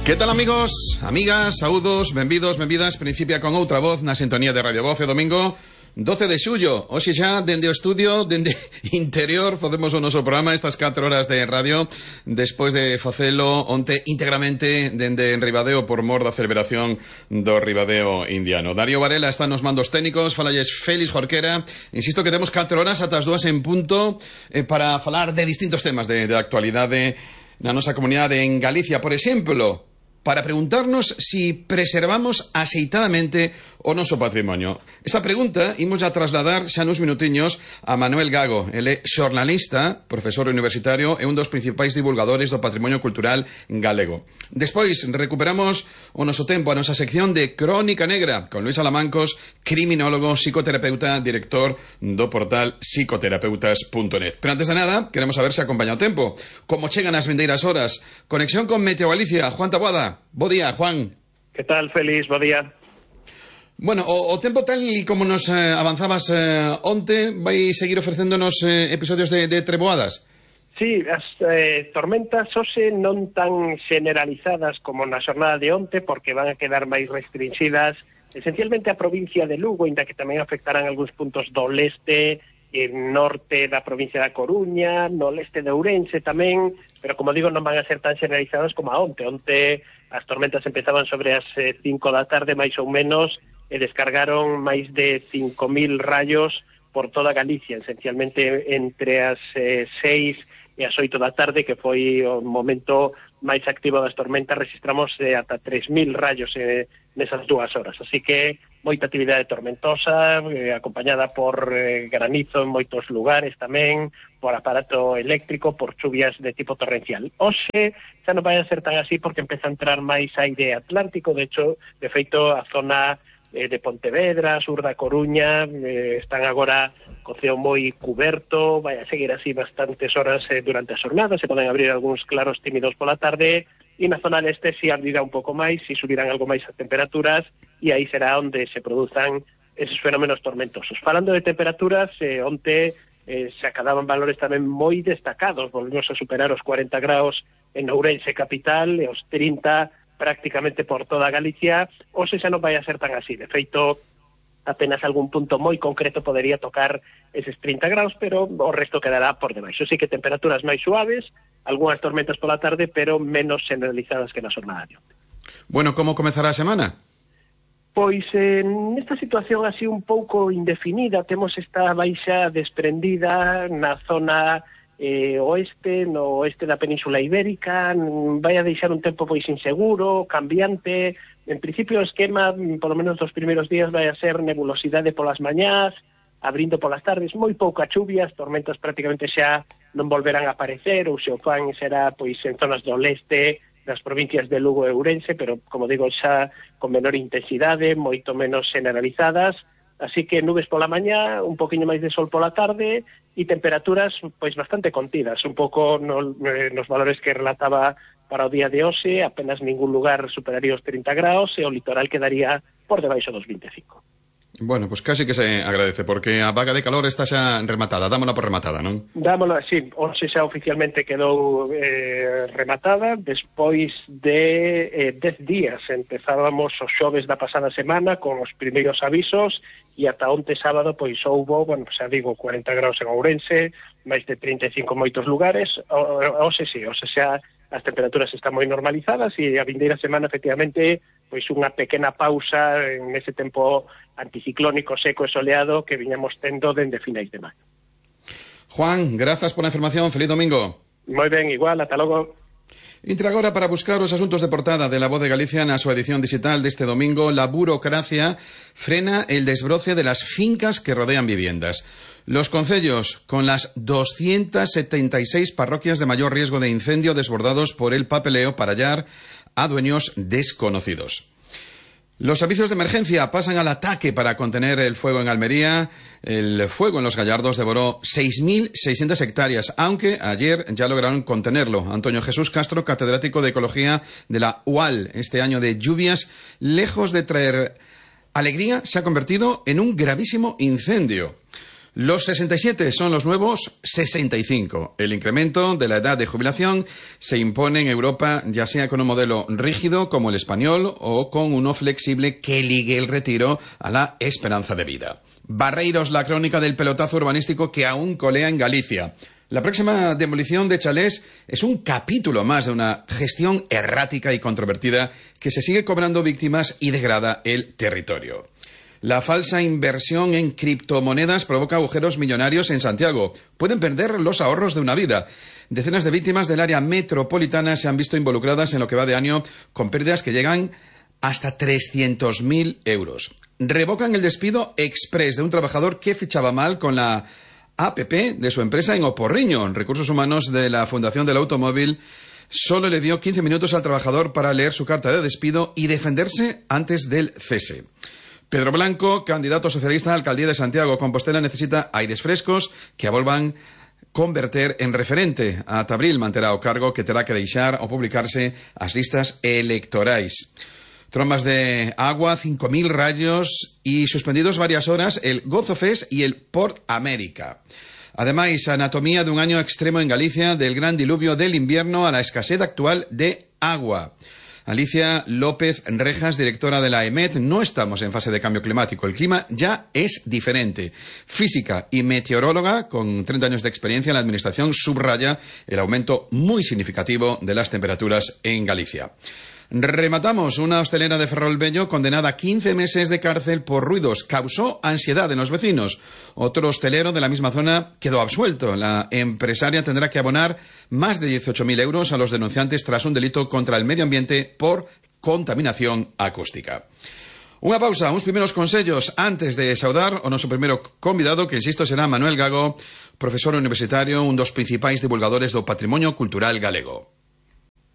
Que tal, amigos, amigas, saúdos, benvidos, benvidas. Principia con outra voz na sintonía de Radio Voz. Domingo 12 de xullo. Hoxe xa, dende o estudio, dende interior, facemos o noso programa estas 4 horas de radio, despois de facelo onte íntegramente dende Ribadeo por mor da celebración do Ribadeo indiano. Darío Varela está nos mandos técnicos, falalles Félix Jorquera. Insisto que temos 4 horas ata as 2 en punto para falar de distintos temas de actualidade na nosa comunidade en Galicia. Por exemplo, para preguntarnos si preservamos axeitadamente o noso patrimonio. Esa pregunta imos a trasladar xa nos minutiños a Manuel Gago. Ele é xornalista, profesor universitario e un dos principais divulgadores do patrimonio cultural galego. Despois recuperamos o noso tempo, a nosa sección de Crónica Negra con Luis Alamancos, criminólogo, psicoterapeuta, director do portal psicoterapeutas.net. Pero antes de nada, queremos saber se acompaña o tempo. Como chegan as vindeiras horas? Conexión con Meteo Galicia. Juan Taboada. Bo día, Juan. Que tal, Félix? Bo día. Bueno, o tempo tal e como nos avanzabas onte, vai seguir ofrecéndonos episodios de treboadas? Sí, as tormentas hoxe non tan generalizadas como na xornada de onte, porque van a quedar máis restringidas esencialmente a provincia de Lugo, inda que tamén afectarán algúns puntos do leste e norte da provincia da Coruña, no leste de Ourense tamén, pero como digo, non van a ser tan generalizadas como a onte. Onte as tormentas empezaban sobre as 5 da tarde, máis ou menos, e descargaron máis de 5.000 rayos por toda Galicia, esencialmente entre as 6 e as 8 da tarde, que foi o momento máis activo das tormentas. Registramos ata 3.000 rayos nesas 2 horas, así que moita actividade tormentosa, acompañada por granizo en moitos lugares tamén, por aparato eléctrico, por chuvias de tipo torrencial. Hoxe xa non vai a ser tan así porque empeza a entrar máis aire atlántico. De feito, a zona de Pontevedra, sur da Coruña, están agora co ceo moi cuberto. Vai a seguir así bastantes horas durante a xornada, se poden abrir algúns claros tímidos pola tarde, e na zona leste si abrirá un pouco máis, si subirán algo máis as temperaturas, e aí será onde se produzan esos fenómenos tormentosos. Falando de temperaturas, onte se acadaban valores tamén moi destacados. Volvemos a superar os 40 graus en Ourense capital e os 30 prácticamente por toda Galicia. Hoxe xa non vai a ser tan así. De feito, apenas algún punto moi concreto podería tocar eses 30 graus, pero o resto quedará por debaixo. Sí que temperaturas máis suaves, algunhas tormentas pola tarde, pero menos generalizadas que na xornada de onte. Bueno, como comezará a semana? Pois nesta situación así un pouco indefinida, temos esta baixa desprendida na zona oeste, no oeste da Península Ibérica. Vai a deixar un tempo pois inseguro, cambiante. En principio o esquema, polo menos dos primeiros días, vai a ser nebulosidade polas mañás, abrindo polas tardes, moi pouca chuvia, as tormentas prácticamente xa non volverán a aparecer, ou se o fan será pois en zonas do leste, nas provincias de Lugo e Ourense, pero, como digo, xa con menor intensidade, moito menos generalizadas. Así que nubes pola mañá, un poquinho máis de sol pola tarde, e temperaturas pois bastante contidas, un pouco nos valores que relataba para o día de hoxe. Apenas ningún lugar superaría os 30 graus e o litoral quedaría por debaixo dos 25. Bueno, pues casi que se agradece, porque a vaga de calor está xa rematada. Dámola por rematada, non? Dámola, sí. Hoxe xa oficialmente quedou rematada. Despois de 10 días empezábamos os xoves da pasada semana con os primeiros avisos, e ata onte sábado pois houbo, bueno, xa digo, 40 graus en Ourense, máis de 35 en moitos lugares. Hoxe sí, hoxe xa as temperaturas están moi normalizadas, e a vindeira semana, efectivamente, pois unha pequena pausa en ese tempo anticiclónico seco e soleado que viñamos tendo dende finais de maio. Juan, grazas por a información. Feliz domingo. Moi ben, igual, ata logo. Entra agora para buscar os asuntos de portada de La Voz de Galicia na súa edición digital deste domingo. La burocracia frena el desbroce de las fincas que rodean viviendas. Los concellos, con las 276 parroquias de mayor riesgo de incendio desbordados por el papeleo para hallar a dueños desconocidos. Los servicios de emergencia pasan al ataque para contener el fuego en Almería. El fuego en Los Gallardos devoró 6.600 hectáreas, aunque ayer ya lograron contenerlo. Antonio Jesús Castro, catedrático de Ecología de la UAL, este año de lluvias, lejos de traer alegría, se ha convertido en un gravísimo incendio. Los 67 son los nuevos 65. El incremento de la edad de jubilación se impone en Europa, ya sea con un modelo rígido como el español o con uno flexible que ligue el retiro a la esperanza de vida. Barreiros, la crónica del pelotazo urbanístico que aún colea en Galicia. La próxima demolición de chalés es un capítulo más de una gestión errática y controvertida que se sigue cobrando víctimas y degrada el territorio. La falsa inversión en criptomonedas provoca agujeros millonarios en Santiago. Pueden perder los ahorros de una vida. Decenas de víctimas del área metropolitana se han visto involucradas en lo que va de año con pérdidas que llegan hasta 300.000 euros. Revocan el despido exprés de un trabajador que fichaba mal con la APP de su empresa en Oporriño. Recursos Humanos de la Fundación del Automóvil solo le dio 15 minutos al trabajador para leer su carta de despido y defenderse antes del cese. Pedro Blanco, candidato socialista a la alcaldía de Santiago Compostela, necesita aires frescos que volvan converter en referente. Ata abril manterá o cargo que terá que deixar o publicarse as listas electorais. Trombas de agua, 5.000 rayos y suspendidos varias horas el Gozo Fest y el Port América. Ademais, anatomía dun año extremo en Galicia, del gran diluvio del invierno a la escasez actual de agua. Alicia López Rejas, directora de la EMET, no estamos en fase de cambio climático, el clima ya es diferente. Física y meteoróloga, con 30 años de experiencia en la administración, subraya el aumento muy significativo de las temperaturas en Galicia. Rematamos. Una hostelera de Ferrolbello condenada a 15 meses de cárcel por ruidos. Causó ansiedad en los vecinos. Otro hostelero de la misma zona quedó absuelto. La empresaria tendrá que abonar más de 18.000 euros a los denunciantes tras un delito contra el medio ambiente por contaminación acústica. Unha pausa, uns primeiros consellos antes de saudar o noso primeiro convidado, que insisto será Manuel Gago, profesor universitario, un dos principais divulgadores do patrimonio cultural galego.